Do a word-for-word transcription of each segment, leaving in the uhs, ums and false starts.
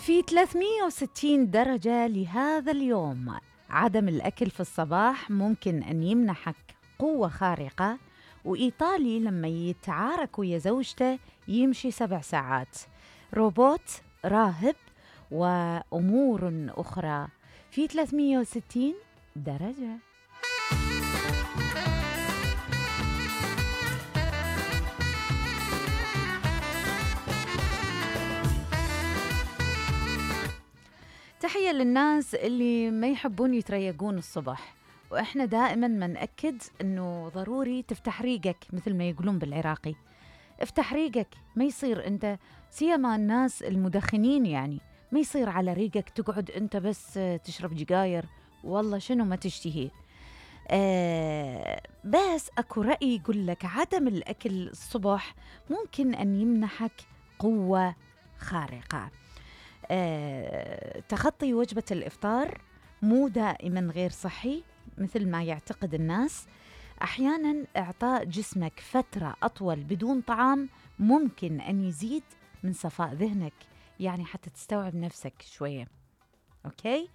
في ثلاثمئة وستين درجة لهذا اليوم. عدم الأكل في الصباح ممكن أن يمنحك قوة خارقة. وإيطالي لما يتعارك ويا زوجته يمشي سبع ساعات. روبوت راهب وأمور أخرى في ثلاثمئة وستين درجة. تحية للناس اللي ما يحبون يتريقون الصبح، وإحنا دائما ما نأكد أنه ضروري تفتح ريقك مثل ما يقولون بالعراقي. افتح ريقك، ما يصير أنت سيما الناس المدخنين، يعني ما يصير على ريقك تقعد أنت بس تشرب جقاير والله شنو ما تشتهي. آه بس أكو رأي يقول لك عدم الأكل الصبح ممكن أن يمنحك قوة خارقة. آه، تخطي وجبة الإفطار مو دائما غير صحي مثل ما يعتقد الناس. أحيانا إعطاء جسمك فترة أطول بدون طعام ممكن أن يزيد من صفاء ذهنك، يعني حتى تستوعب نفسك شوية. أوكي؟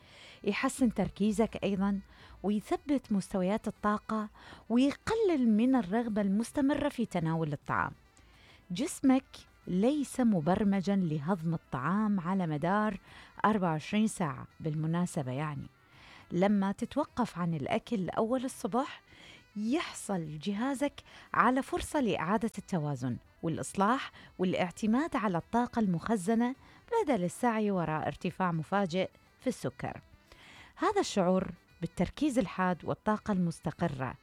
يحسن تركيزك أيضا، ويثبت مستويات الطاقة، ويقلل من الرغبة المستمرة في تناول الطعام. جسمك ليس مبرمجاً لهضم الطعام على مدار أربعة وعشرين ساعة بالمناسبة. يعني لما تتوقف عن الأكل أول الصبح يحصل جهازك على فرصة لإعادة التوازن والإصلاح والاعتماد على الطاقة المخزنة بدل السعي وراء ارتفاع مفاجئ في السكر. هذا الشعور بالتركيز الحاد والطاقة المستقرة.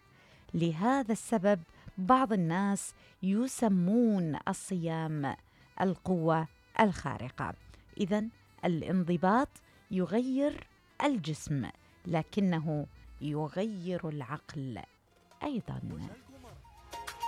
لهذا السبب بعض الناس يسمون الصيام القوة الخارقة. إذن الانضباط يغير الجسم لكنه يغير العقل أيضاً.